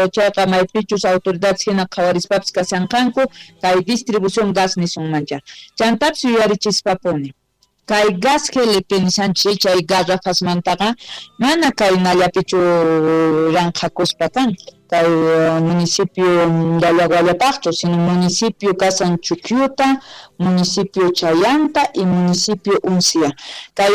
Chayqa maypichus autoridades hina qhawarispapis kashanqanku kay distribución gas nisunmancha. Chantapis yuyarichispapuni kay gas GLP nishanchis chay garrafasmantaqa mana kaynallapichu ranqhakuspa kan kay municipio Yallaguallapaqchu, sino municipio kasan Chukyuta, municipio Chayanta y municipio Uncia. Kay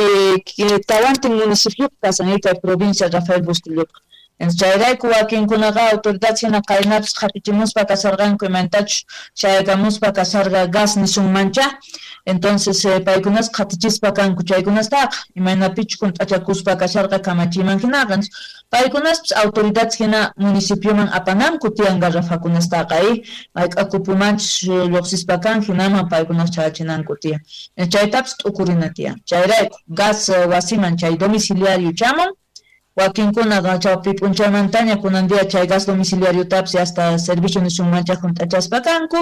tawantin municipio kasan kay provincia Rafael Bustilloqa. Chayrayku wakinkunaqa autoridad hina qaynapis qhatichimuspa kasarqanku imantachus chayakamuspa kasarqa gas nisunmancha. Entonces paykunas qhatichispa kanku chaykunastaqa imaynapichus hunt'achakuspa kasharqa kamachiman hinaqa. Paykunaspis autoridad hina municipioman apananku tiyan garrafakunastaqa mayk'akupumanchus lluqsispa kan hinaman paykunas chayachinanku tiyan. Chaytapis t'ukurina tiyan. Chayrayku gas wasiman chay domiciliario chamun. Wakinkunaqa chawpi p'unchaymantaña kunan día chay gas domiciliariotapis hasta servicio nisunmancha hunt'achaspa kanku.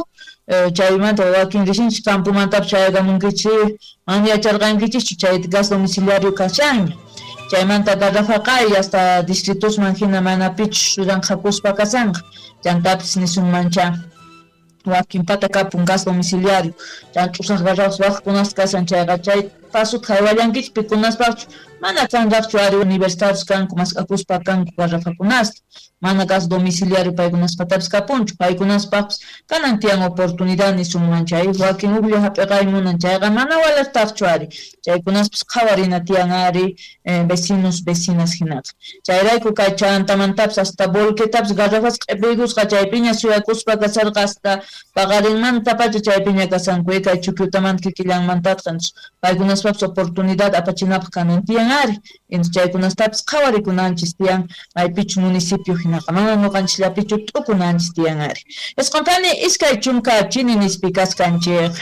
Chaymanta wakin risinchis campomantapis chayakamunkichis mana yacharqankichischu chay gas domiciliario kashanña. Chaymanta garrafaqa hasta distritosman hina manapichus ranqhakuspa kashanqa. Chantapis nisunmancha wakinpata kapun gas domiciliario. Chan ch'usaq garrafas waqkunas kashan chayqa chay pasota haywallankichis pikunaspaqchu mana kanraqchu ari universitarios kanku mask'akuspa kanku garrafakunasta mana gas domiciliario paykunaspatapis kapunchu paykunaspaqpis kanan tiyan oportunidad nisunman chay wakin ujlla hap'iqay munan chayqa mana walaqtaqchu ari chaykunaspis qhawarina tiyan ari vecinos vecinas hinaqa chayrayku kay chantamantapis hasta volquetapis garrafas q'ipiykusqa chaypiña suyakuspa kasarqa hasta paqarinmantapacha chaypiña kasanku kay Chukyutamanta kikillanmantatqa paykunaspapis oportunidad apachinapaq kanan tiyan ari chaykunastapis qhawarikunanchis tiyan maypichu municipio hinaqa mana ñuqanchikllapichu t'ukunanchis tiyan ari. Isqunpani 20 chini nispi kaskanchik.